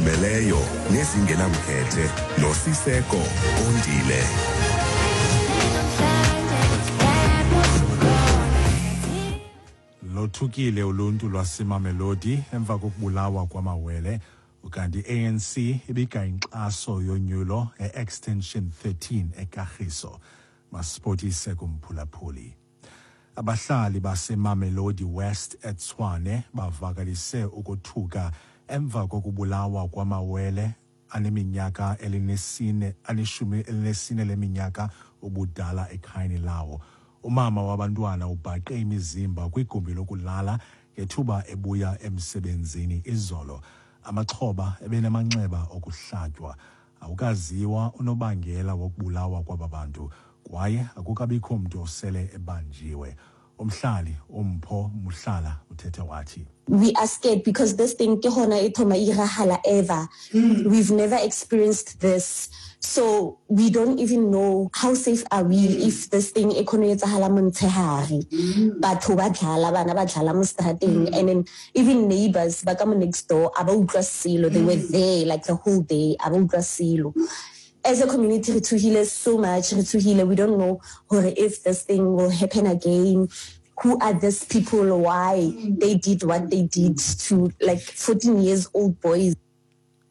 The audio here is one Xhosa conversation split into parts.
Ezizimeleyo nezingenamkhethe noSiseko Kondile. Lothukile uluntu lwaseMamelodi emva kokubulawa kwamawele, ukanti i-ANC ibika inkxaso yonyulo e-Extension 13 eKagiso. Masipotise kumphulaphuli. Abahlali baseMamelodi West eTshwane bavakalise ukothuka emva kokubulawa kwamawele aneminyaka elinesine aneshumi elinesine leminyaka ubudala ekhayeni lawo. Umama wabantwana ubhaqe imizimba kwigumbi lokulala ngethuba ebuya emsebenzini izolo. Amaxhoba ebenamanxeba okuhlatywa. Awukaziwa unobangela wokubulawa kwaba bantu kwaye akukabikho mntu osele ebanjiwe. Umhlali uMpho Muhlala uthethe wathi, We are scared because this thing ke hona e thoma e irahala ever. We've never experienced this. So we don't even know how safe are we if this thing e khone etsahala montshehare. Batho ba dlala, bana ba dlala mo strateng, and then even neighbors ba ka mo next door a ba utlwa selo. They were there like the whole day, a ba utlwa selo. As a community, re tshohile so much, re tshohile. We don't know hore if this thing will happen again. Who are these people? Why they did what they did to like 14 years old boys?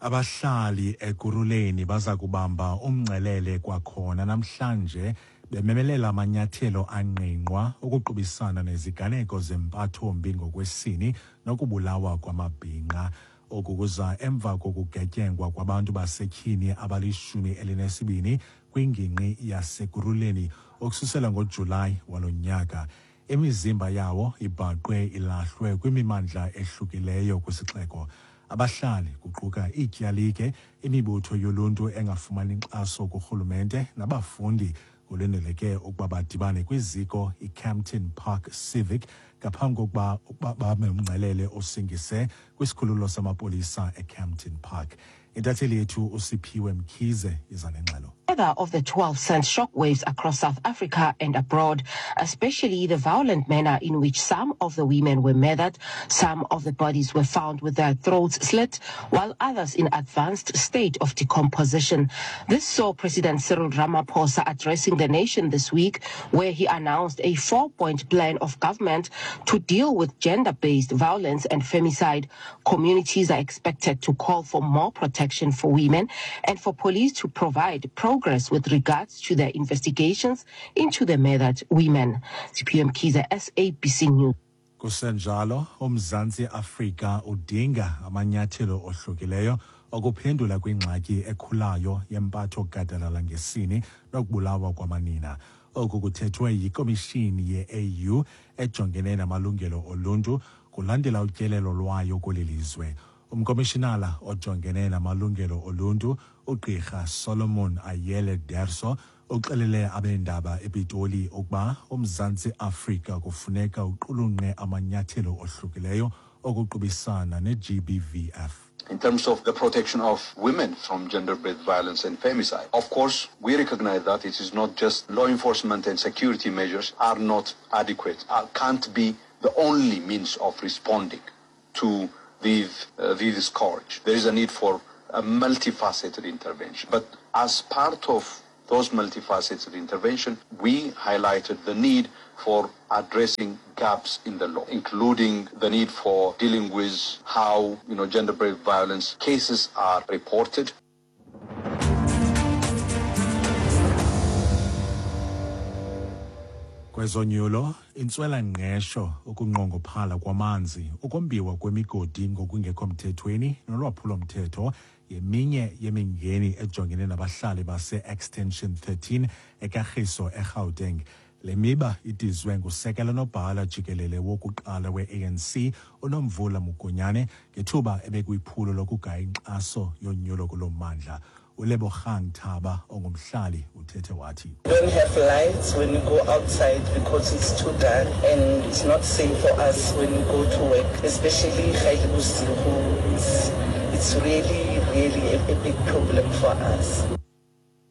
Abahlali Ekurhuleni baza kubamba umngcelele kwakhona namhlanje bememelela amanyathelo angqingqwa ukuqubisana neziganeko zempathombi ngokwesini nokubulawa kwamabhinqa. Oku kuza emva kokugetyengwa kwabantu basetyhini abali-12 kwingingqi yaseKurhuleni ukususela ngoJulayi walo nyaka. Imizimba yawo ibhaqwe ilahlwe kwimimandla ehlukileyo kwisixeko. Abahlali, kuquka iityalike, imibutho yoluntu engafumani nkxaso kurhulumente nabafundi, kulindeleke ukuba badibane kwiziko iKempton Park Civic ngaphambi kokuba bame umngcelele osingise kwisikhululo samapolisa eKempton Park. Intatheli yethu uSiphiwe Mkhize iza nengxelo. Weather of the 12 sent shockwaves across South Africa and abroad, especially the violent manner in which some of the women were murdered. Some of the bodies were found with their throats slit, while others in advanced state of decomposition. This saw President Cyril Ramaphosa addressing the nation this week, where he announced a 4-point plan of government to deal with gender-based violence and femicide. Communities are expected to call for more protection for women and for police to provide progress with regards to their investigations into the murdered women. Siphiwe Mkhize, SABC News. Kusenjalo, uMzantsi Afrika udinga amanyathelo ohlukileyo okuphendula kwingxaki ekhulayo yempatho gadalala ngesini nokubulawa kwamanina. Oku kuthethwe yikomishini ye-AU ejongene namalungelo oluntu kulandela utyelelo lwayo kweli lizwe. Umkomishinala ojongene namalungelo oluntu uGqirha Solomon Ayele Derso uxelele abeendaba ePitoli ukuba uMzantsi Afrika kufuneka uqulunqe amanyathelo ohlukileyo okuqubisana ne-GBVF. In terms of the protection of women from gender-based violence and femicide, of course, we recognize that it is not just law enforcement and security measures are not adequate, can't be the only means of responding to these scourge. There is a need for a multifaceted intervention. But as part of those multifaceted intervention, we highlighted the need for addressing gaps in the law, including the need for dealing with how, gender-based violence cases are reported. Kwezonyulo, intswela-ngqesho, ukunqongophala kwamanzi, ukombiwa kwemigodi ngokungekho mthethweni nolwaphulo-mthetho yeminye yemingeni ejongene nabahlali base-Extension 13 eKagiso eGauteng. Le miba idizwe ngusekela nobhala jikelele wokuqala we-ANC uNomvula Mokonyane ngethuba ebekwiphulo lokugaya inkxaso yonyulo kulo mmandla. uLebogang Thaba ongumhlali uthethe wathi, We don't have lights when we go outside because it's too dark and it's not safe for us when we go to work, especially ga e le bosigo. It's really, really a big problem for us.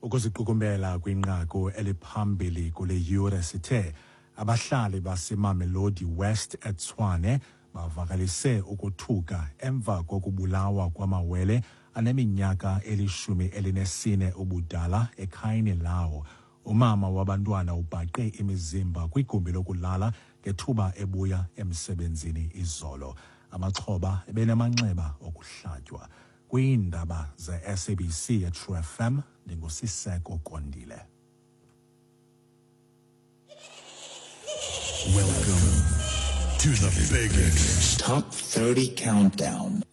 Ukuziqukumbela kwinqaku eliphambili kule yure sithe abahlali baseMamelodi West eTshwane bavakalise ukothuka emva kokubulawa kwamawele. aneminyaka eli-14 ubudala ekhayeni lawo. Umama wabantwana ubhaqe imizimba kwigumbi lokulala ngethuba ebuya emsebenzini izolo. Amaxhoba ebenamanxeba okuhlatywa. Kwiindaba ze-SABC eTrue FM, ndinguSiseko Kondile. Welcome to the biggest Top 30 Countdown.